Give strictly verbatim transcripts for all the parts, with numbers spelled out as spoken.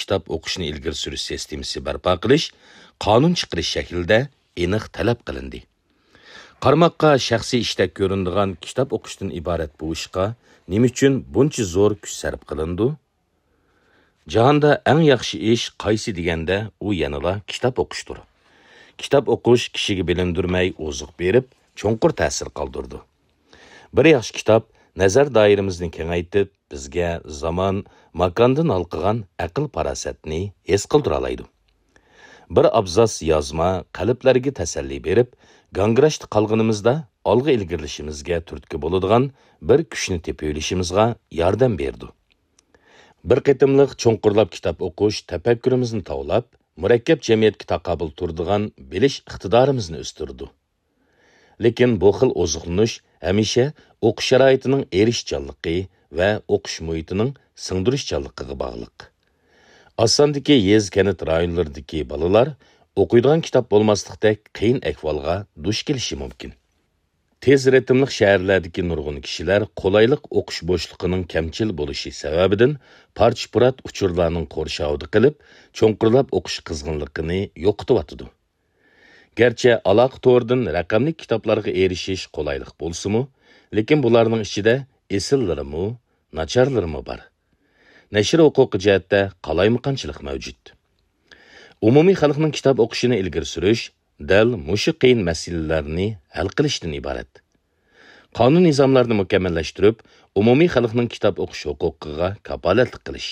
كىتاب ئوقۇشنى ئىلگىرى سۈرۈش سىستېمىسى بەرپا قىلىش قانۇن چىقىرىش شەكلىدە ئېنىق تەلەپ قىلىندى. قارىماققا شەخسىي ئىشتەك كۆرۈنىدىغان كىتاب ئوقۇشتىن ئىبارەت بۇ ئىشقا نېمە ئۈچۈن بۇنچە زور كۈچ سەرپ قىلىنىدۇ؟ جاھاندا ئەڭ ياخشى ئىش قايسى دېگەندە، ئۇ يەنىلا كىتاب ئوقۇشتۇر. كىتاب ئوقۇش كىشىگە بىلىندۈرمەي ئوزۇق بېرىپ، چوڭقۇر تەسىر قالدۇرىدۇ. بىر ياخشى كىتاب نەزەر دائىرىمىزنى كېڭەيتىپ، بىزگە زامان، ماكاندىن ھالقىغان ئەقىل-پاراسەتنى ھېس قىلدۇرالايدۇ. بىر ئابزاس يازما قەلبلەرگە تەسەللى بېرىپ، گاڭگىراشتا قالغىنىمىزدا ئالغا ئىلگىرىلىشىمىزگە تۈرتكە بولىدىغان بىر كۈچنى تېپىۋېلىشىمىزغا ياردەم بېرىدۇ. بىر قېتىملىق چوڭقۇرلاپ كىتاب ئوقۇش تەپەككۇرىمىزنى تاۋلاپ، مۇرەككەپ جەمئىيەتكە تاقابىل تۇرىدىغان بىلىش ئىقتىدارىمىزنى ئۆستۈرىدۇ. لېكىن بۇ خىل ئوزۇقلىنىش ھەمىشە ئوقۇش شارائىتىنىڭ ئېرىشچانلىقى ۋە ئوقۇش مۇھىتىنىڭ سىڭدۈرۈشچانلىقىغا باغلىق. ئاز ساندىكى يېزا-كەنت رايونلىرىدىكى بالىلار ئوقۇيدىغان كىتاب بولماسلىقتەك قىيىن ئەھۋالغا دۇچ كېلىشى مۇمكىن. تېز رىتىملىق شەھەرلەردىكى نۇرغۇن كىشىلەر قولايلىق ئوقۇش بوشلۇقىنىڭ كەمچىل بولۇشى سەۋەبىدىن پارچە-پۇرات ئۇچۇرلارنىڭ قورشاۋىدا قېلىپ، چوڭقۇرلاپ ئوقۇش قىزغىنلىقىنى يوقىتىۋاتىدۇ. گەرچە ئالاقە تورىدىن رەقەملىك كىتابلارغا ئېرىشىش قولايلىق بولسىمۇ، لېكىن بۇلارنىڭ ئىچىدە ئېسىللىرىمۇ، ناچارلىرىمۇ بار. نەشر ھوقۇقى جەھەتتە قالايمىقانچىلىق مەۋجۇت. ئومۇمىي خەلقنىڭ كىتاب ئوقۇشىنى ئىلگىرى سۈرۈش دەل مۇشۇ قىيىن مەسىلىلەرنى ھەل قىلىشتىن ئىبارەت. قانۇن نىزاملارنى مۇكەممەللەشتۈرۈپ، ئومۇمىي خەلقنىڭ كىتاب ئوقۇش ھوقۇقىغا كاپالەتلىك قىلىش،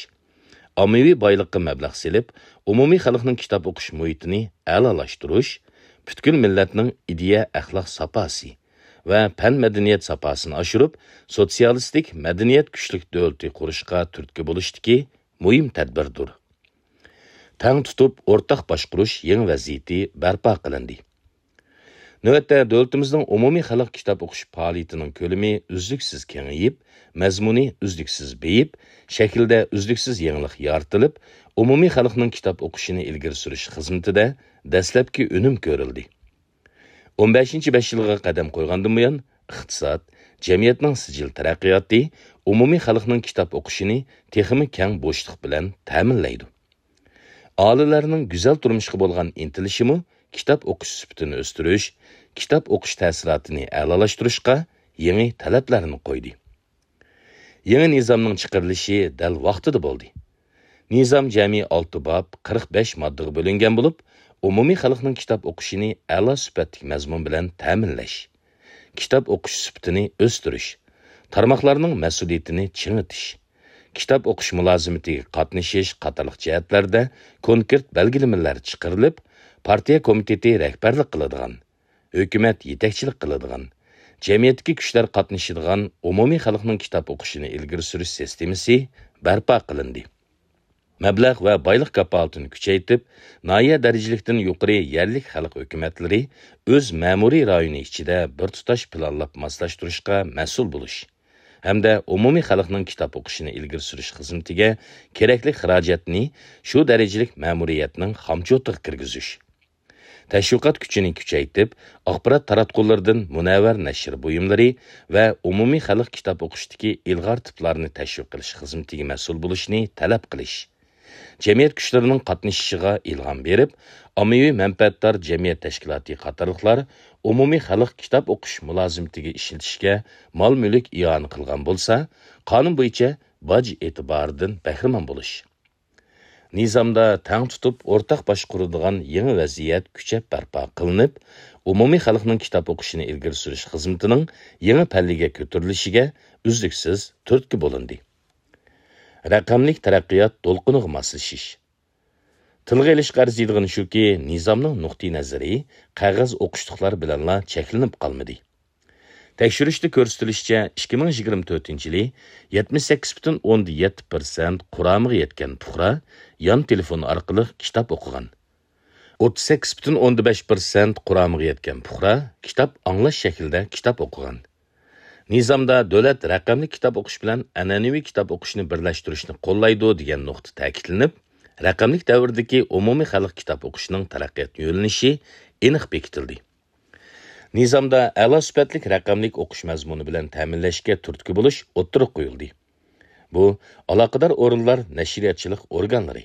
ئاممىۋى بايلىققا مەبلەغ سېلىپ، ئومۇمىي خەلقنىڭ كىتاب ئوقۇش مۇھىتىنى ئەلالاشتۇرۇش، پۈتكۈل مىللەتنىڭ ئىدىيە-ئەخلاق ساپاسى ۋە پەن-مەدەنىيەت ساپاسىنى ئاشۇرۇپ، سوتسىيالىستىك مەدەنىيەت كۈچلۈك دۆلىتى قۇرۇشقا تۈرتكە بولۇشتىكى مۇھىم تەدبىردۇر. تەڭ تۇتۇپ ئورتاق باشقۇرۇش يېڭى ۋەزىيىتى بەرپا قىلىندى. نۆۋەتتە، دۆلىتىمىزنىڭ ئومۇمىي خەلق كىتاب ئوقۇش پائالىيىتىنىڭ كۆلىمى ئۈزلۈكسىز كېڭىيىپ، مەزمۇنى ئۈزلۈكسىز بېيىپ، شەكلىدە ئۈزلۈكسىز يېڭىلىق يارىتىلىپ، ئومۇمىي خەلقنىڭ كىتاب ئوقۇشىنى ئىلگىرى سۈرۈش خىزمىتىدە دەسلەپكى ئۈنۈم كۆرۈلدى. ئون بەشىنچى بەش يىلغا قەدەم قويغاندىن بۇيان، ئىقتىساد، جەمئىيەتنىڭ سىجىل تەرەققىياتى ئومۇمىي خەلقنىڭ كىتاب ئوقۇشىنى تېخىمۇ كەڭ بوشلۇق بىلەن تەمىنلەيدۇ. ئاھالىلەرنىڭ گۈزەل تۇرمۇشقا بولغان ئىنتىلىشىمۇ كىتاب ئوقۇش سۈپىتىنى ئۆستۈرۈش، كىتاب ئوقۇش تەسىراتىنى ئەلالاشتۇرۇشقا يېڭى تەلەپلەرنى قويدى. يېڭى نىزامنىڭ چىقىرىلىشى دەل ۋاقتىدا بولدى. نىزام جەمئىي ئالتە باب، قىرىق بەش ماددىغا بۆلۈنگەن بولۇپ، ئومۇمىي خەلقنىڭ كىتاب ئوقۇشىنى ئەلا سۈپەتلىك مەزمۇن بىلەن تەمىنلەش، كىتاب ئوقۇش سۈپىتىنى ئۆستۈرۈش، تارماقلارنىڭ مەسئۇلىيىتىنى چىڭىتىش، كىتاب ئوقۇش مۇلازىمىتىگە قاتنىشىش قاتارلىق جەھەتلەردە كونكرېت بەلگىلىمىلەر چىقىرىلىپ، پارتىيە كومىتېتى رەھبەرلىك قىلىدىغان، ھۆكۈمەت يېتەكچىلىك قىلىدىغان، جەمئىيەتتىكى كۈچلەر قاتنىشىدىغان ئومۇمىي خەلقنىڭ كىتاب ئوقۇشىنى ئىلگىرى سۈرۈش سىستېمىسى بەرپا قىلىندى. مەبلەغ ۋە بايلىق كاپالىتىنى كۈچەيتىپ، ناھىيە دەرىجىلىكتىن يۇقىرى يەرلىك خەلق ھۆكۈمەتلىرى ئۆز مەمۇرىي رايونى ئىچىدە بىر تۇتاش پىلانلاپ ماسلاشتۇرۇشقا مەسئۇل بولۇش ھەمدە ئومۇمىي خەلقنىڭ كىتاب ئوقۇشىنى ئىلگىرى سۈرۈش خىزمىتىگە كېرەكلىك خىراجەتنى شۇ دەرىجىلىك مەمۇرىيەتنىڭ خامچوتىغا كىرگۈزۈش، تەشۋىقات كۈچىنى كۈچەيتىپ، ئاخبارات تاراتقۇلىرىدىن مۇنەۋۋەر نەشر بۇيۇملىرى ۋە ئومۇمىي خەلق كىتاب ئوقۇشتىكى ئىلغار تىپلارنى تەشۋىق قىلىش خىزمىتىگە مەسئۇل بولۇشنى تەلەپ قىلىش، جەمئىيەت كۈچلىرىنىڭ قاتنىشىشىغا ئىلھام بېرىپ، ئاممىۋى مەنپەئەتدار جەمئىيەت تەشكىلاتى قاتارلىقلار ئومۇمىي خەلق كىتاب ئوقۇش مۇلازىمىتىگە ئىشلىتىشكە مال-مۈلۈك ئىئانە قىلغان بولسا، قانۇن بويىچە باج ئېتىبارىدىن بەھرىمەن بولۇش. نىزامدا تەڭ تۇتۇپ ئورتاق باشقۇرىدىغان يېڭى ۋەزىيەت كۈچەپ بەرپا قىلىنىپ، ئومۇمىي خەلقنىڭ كىتاب ئوقۇشىنى ئىلگىرى سۈرۈش خىزمىتىنىڭ يېڭى پەللىگە كۆتۈرۈلۈشىگە ئۈزلۈكسىز تۈرتكە بولۇندى. رەقەملىك تەرەققىيات دولقۇنىغا ماسلىشىش. تىلغا ئېلىشقا ئەرزىيدىغىنى شۇكى، نىزامنىڭ نۇقتىئىنەزىرى قەغەز ئوقۇشلۇقلار بىلەنلا چەكلىنىپ قالمىدى. تەكشۈرۈشتە كۆرسىتىلىشىچە، ئىككى مىڭ يىگىرمە تۆتىنچى يىلى يەتمىش سەككىز پۈتۈن ئوندىن يەتتە پىرسەنت قۇرامىغا يەتكەن پۇقرا يان تېلېفون ئارقىلىق كىتاب ئوقۇغان. ئوتتۇز سەككىز پۈتۈن ئوندىن بەش پىرسەنت قۇرامىغا يەتكەن پۇقرا كىتاب ئاڭلاش شەكلىدە كىتاب ئوقۇغان. نىزامدا دۆلەت رەقەملىك كىتاب ئوقۇش بىلەن ئەنئەنىۋى كىتاب ئوقۇشنى بىرلەشتۈرۈشنى قوللايدۇ دېگەن نۇقتا تەكىتلىنىپ، رەقەملىك دەۋردىكى ئومۇمىي خەلق كىتاب ئوقۇشىنىڭ تەرەققىيات يۆنىلىشى ئېنىق بېكىتىلدى. نىزامدا ئەلا سۈپەتلىك رەقەملىك ئوقۇش مەزمۇنى بىلەن تەمىنلەشكە تۈرتكە بولۇش ئوتتۇرىغا قويۇلدى. بۇ، ئالاقىدار ئورۇنلار، نەشرىياتچىلىق ئورگانلىرى،